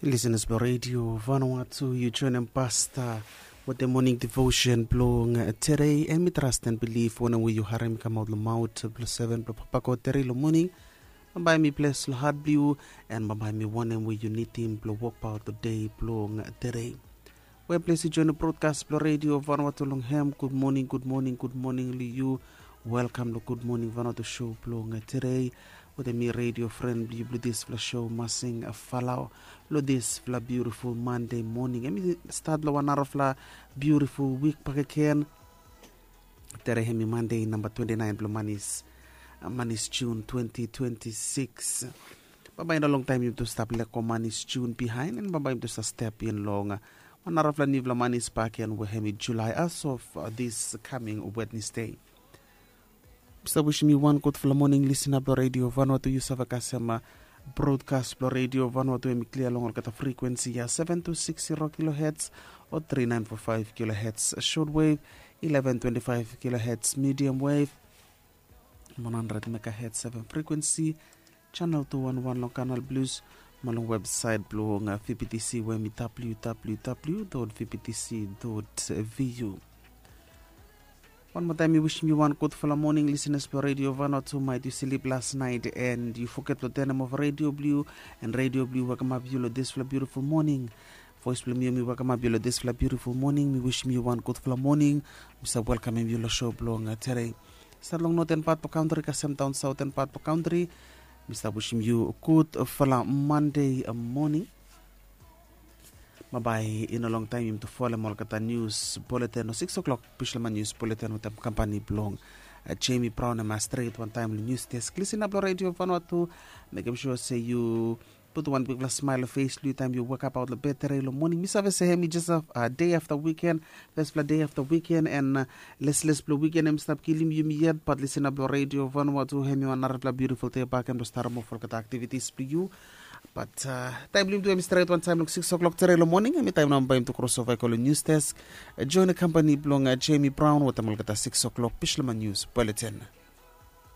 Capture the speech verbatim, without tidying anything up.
Lisenas blong redio Vanuatu, yu joinim pasta wetem moning devotion blong tedei. Em i trast en bilif wanem we yu harim i kamaut long maut blong seven blong papa god tedei long moning. Bambae mi ples long hat blong yu, en bambae mi wanem we yu nidim blong wokbaut long dei blong tedei. We ples yu joinim brodkas blong redio Vanuatu long hem, gud moning, gud moning, gud moning long yu. Welkam long gud moning Vanuatu show blong tedei. Wetem mi redio fren blong yu blong dispela show, Masing Falao, long dispela biutiful Mande moning. Em i stat long wan narafela biutiful wik bakegen. Tere hem i Mande namba twenty nine blong manis, manis Jun twenty twenty six. Bambae i no longtaim yumi tu stap leko manis Jun bihain, en bambae yumi tu sa step in long wan narafela niufala manis bakegen we hem i Julai, as of uh, this coming Wednesday. Sa wishim yu wan gudfala moning, listener blong redio Vanuatu. Yu save kasem uh, broadcast blong redio Vanuatu em i klia long olgeta frequency ya, seven two six zero kilohertz o three nine four five kilohertz short wave, eleven twenty five kilohertz medium wave, one hundred megahertz seven frequency, channel two one one long Canal Plus, mo long website blong uh, V P T C we em i W W W dot V P T C dot V U. Wan moa taim mi wishim yu wan gudfala moning, listeners blong redio Vanuatu. Mait yu slip last night and yu foget long turn off redio blong yu, and redio blong yu welkamap yu long dispela beautiful morning. Voice blong mi, mi welkamap yu long dispela beautiful morning. Mi wishim yu wan gudfala moning. Mi sa welkamim yu long show blong uh, tedei. Stat long northern part blong country kasem daun southern part blong country. Mi sa wishim yu gudfala Monday uh, morning. Bambae i no longtaim yumi tu folem olgeta news bulletin o six o'clock, Bislama news bulletin wetem kampani blong uh, Jamie Brown. Em a stret wantaim long news desk, listener blong redio Vanuatu. Mekim sure se yu put wan bikpela smile long face blong yu taim yu wekabaut long bed tedei long moning. Mi save se hem i just a uh, day after weekend, firstpela day after weekend, and uh, lesles blong weekend em stap kilim yumi yet, but listener blong redio Vanuatu, hem i wan narapela beautiful day bakem blong starim of olgeta activities blong yu. But uh, taim blong yumi tu em i stret wantaim long six o'clock tedei long moning, em i taim namba yumi tu crossover i go long news desk, uh, join kampani blong uh, Jamie Brown wetem olgeta six o'clock Bislama news bulletin.